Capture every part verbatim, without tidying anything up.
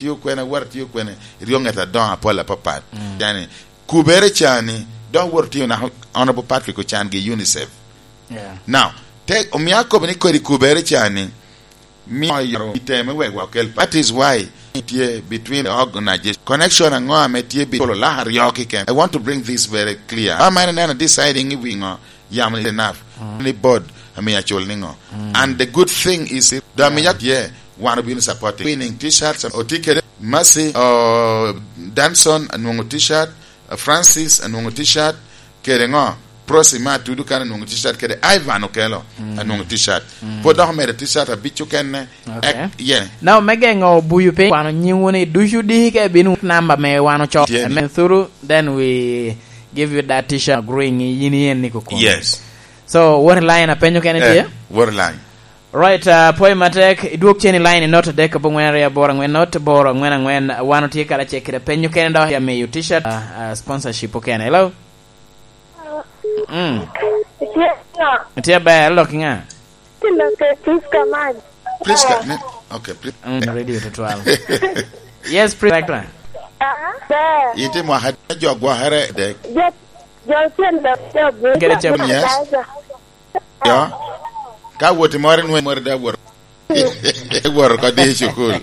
tio kwene, wot atio kwene, iryo ŋet adoŋo apol apapat. Mm. Yani, kubere cani, dok wot tio nako Honorable Patrick Ochan gi UNICEF. Yeah. Now, te, omio akobo ni kodi kubere cani, mi oyaro iteme wek wakel. That is why tye between the organization. Connection aŋo ame tye bi-, polo laka aryo kiken? I want to bring this very clear. Ama en neno deciding i wi ŋo, yamo ni enough. Mm. Ni board, ame acul ni ŋo. Mm. And the good thing is, the, yeah, ame yak tye, wan obino supporting. Winning t-shirts, otye kede Mercy, oh, Danson, anwoŋo t-shirt, Francis, anwoŋo t-shirt, kede ŋo? Prosi ma atudo kan anwoŋo t-shirt, kede Ivan Okelo, mm, anwoŋo t-shirt. Mm. Pwod dok omedo t-shirt abic okene. Okay. Ek, yeah. Now, me geŋo buyo piny, kwano nyingwu ni ducu diki ka ibino namba me wan ocoo. Tye ni. Amen. Through, then we give you that t-shirt agreeing yin yen ni kukum. Yes. So, what line apenyo kene, eh, tye? What line? Right, uh, pwoyo matek, idwog cen i line not adek abongwen aryo aboro angwen not boro angwen angwen, wan otye karacel kede penyo kene dok ya miyo t-shirt, uh, uh, sponsorship okene. Hello? Mm. Itye ŋa? Itye ber, lok i ŋa? Ti lok i Prisca Maj. Prisca, ne, okay, Pri-, mm, radio to twelve. Yes, Prisca. Ah, ber. Iti mwaka jo gwokere dek. Jo, jo cen lok jo bu. Kede cem. Yes. Ber. Yo. Ka woti moro nwe moro da wor. Wor ko di cukul.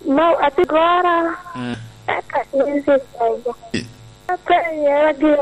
Mo ati gora. Mm. Eka nisi kogo. Aka yera gi